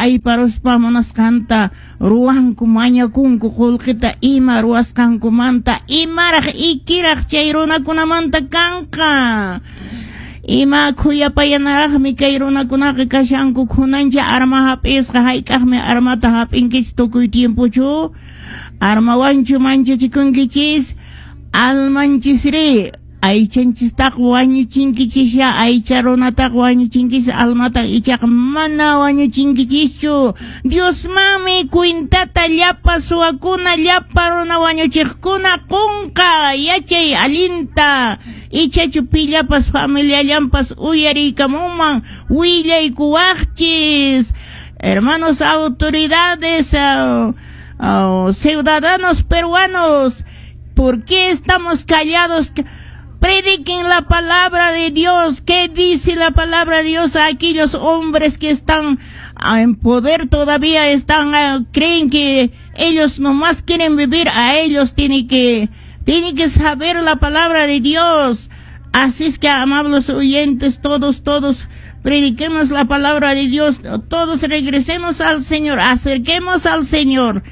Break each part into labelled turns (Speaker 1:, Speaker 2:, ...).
Speaker 1: Ayparuspa munasqanta ruwanku, mañakunku qullqita ima ruwasqankumanta, imaraq ikiraq chay runakunamanta kanqa. Ima khuyapayanaraqmi kay runakunaqa kashanku, khunancha arma hap'isqa, hayk'aqmi armata hap'inkichis tukuy tiempochu? Armawanchu manchachikunkichis? Almanchisri aychanchistaqa wañuchinkichisya, aycha runataqa wañuchinkichis, almata ichaqa mana wañuchinkichischu. Diosmanmi cuentata llapa suwakuna, llapa runa wañuchiqkuna qunqa, yachay allinta. Ichachu pillapas familiallanpas uyariykamunman, willaykuwaqchis. Hermanos autoridades, ciudadanos peruanos, ¿por qué estamos callados? Prediquen la palabra de Dios. ¿Qué dice la palabra de Dios a aquellos hombres que están en poder todavía están, creen que ellos nomás quieren vivir? A ellos tienen que saber la palabra de Dios. Así es que, amables oyentes, todos, todos, prediquemos la palabra de Dios, todos regresemos al Señor, acerquemos al Señor.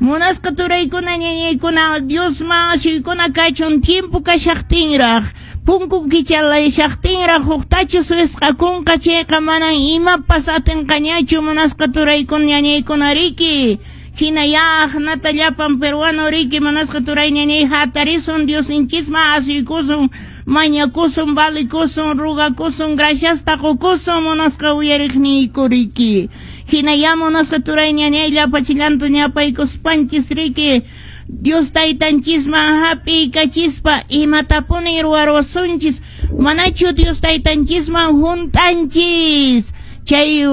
Speaker 1: Munasqa turaykuna, ñañaykuna, Diosman ashuykuna kachun tiempo kashaqtinraq, punku kichalayshaqtinraq, huqtachu wisq'akunqa chayqa manan imapas atinqañachu, munasqa turaykuna, ñañaykuna, riki. Hina ya nata llapan peruano riki, munasqa turay, ñañay, hatarisun, Diosninchisman asuykusun, mañakusun, valikusun, rugakusun, graciasta qukusun, munasqa uyariqniyku riki. Hina ya munasqa turay, ñañay, llapachillanta ñapaykuspanchis riki, Dios taytanchisman hap'iykachispa imatapuni ruwarusunchis, manachu Dios taytanchisman hunt'anchis chay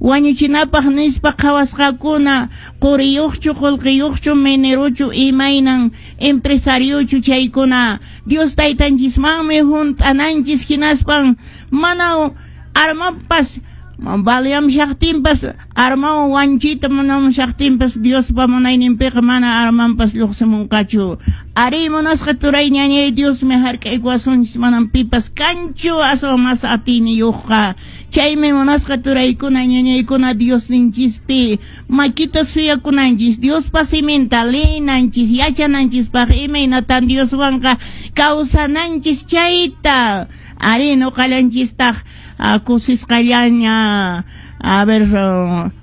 Speaker 1: wañuchinapaq nispa qhawasqakuna, quriyuqchu, qullqiyuqchu, minerochu, imaynan empresariochu chaykuna, Dios taytanchismanmi hunt'ananchis, hinaspan mana armapas baleamshaqtinpas, armawan wanchita munamshaqtinpas, Diospa munayninpiqa mana armanpas lluqsimunqachu. Ari, munasqa turay, ñañay, Diosmi hark'aykuwasunchis, manam pipas kanchu aswan mas atiyniyuqqa. Chaymi, munasqa turaykuna, ñañaykuna, Diosninchispi makita suyakunanchis, Diospa siminta leenanchis yachananchispaq imaynatan Dioswanqa kawsananchis chayta. Ari, nuqallanchistaq kusisqallaña, a ver,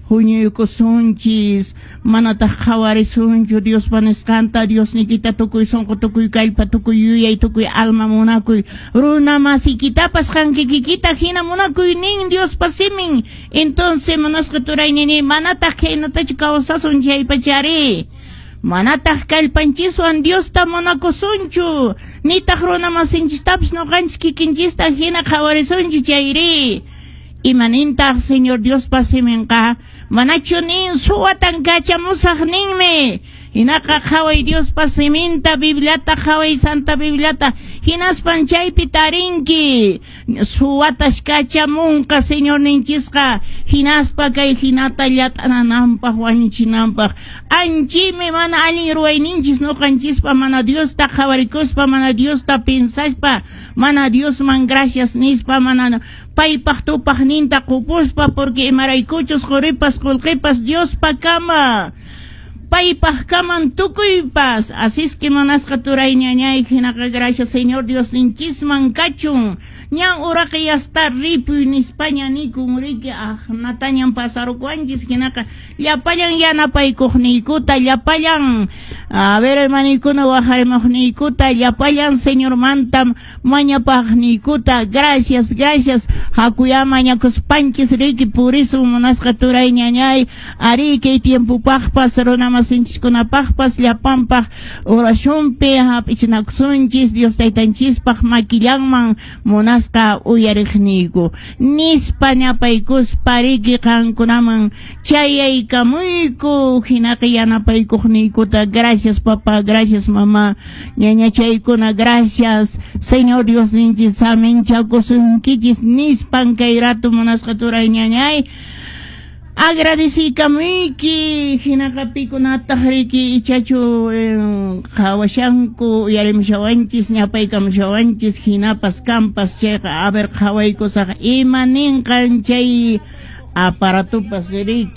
Speaker 1: huñuykusunchis, manataq qhawarisunchu Diospa nisqanta: Diosnikita tukuy sunqu, tukuy kallpa, tukuy yuyay, tukuy alma munakuy, runa masikitapas qankikikita hina munakuy nin Diospa simin. Entonces, munasqa turay, nini, manataq khaynatachu kawsasun chaypachari, manataq kallpanchiswan Diosta munakusunchu, nitaq runa masinchistapas nuqanchis kikinchista hina qhawarisunchu chayri, imanintaq Señor Diospa siminqa? Manachu nin suwatan kachamusaq ninmi? Hinaqa qhaway Diospa siminta, Bibliata qhaway, Santa Bibliata, hinaspan chaypi tarinki suwatas kachamunqa Señorninchisqa, hinaspa kay hinata llat'anananpaq, wañuchinanpaq. Anchimi mana allin ruwayninchis nuqanchispa, mana Diosta qhawarikuspa, mana Diosta pensaspa, mana Diosman gracias nispa, mana paypaq tupaqninta qupuspa, porque imaraykuchus quripas qullqipas Diospa kama, paypaq kaman tukuypas. Así es que, munasqa turay, ñañay, hinaqa gracias Señor Diosninchisman kachun. Ñan uraqa yasta ripuy nispaña nikun riki, natañan pasarukuwanchis. Hinaqa llapallan yanapaykuqniykuta, llapallan, a ver, hermaniykuna waqarimuqniykuta, llapallan Señormanta mañapaqniykuta, gracias, gracias. Hakuya mañakuspanchis riki purisun, munasqa turay, ñañay. Ari, kay tiempopaqpas, runa masinchikkunapaqpas, llapanpaq oracionpi hap'ichinakusunchis Dios taytanchispaq makillanman, munasqa uyariqniyku, nispa ñapaykuspa riki qankunaman chayaykamuyku. Hinaqa yanapaykuqniykuta gracias, papá, gracias, mamá, ñañachaykuna, gracias. Señor Diosninchis saminchakusunkichis nispan kay rato, munasqa turay, ñañay, agradecikamuyki. Hinaqa pikunataq riki ichachu qhawashanku, uyarimushawanchis, ñapaykamushawanchis, hinapas kampas chayqa, a ver, qhawaykusaq ima ninqan chay aparatupas riki.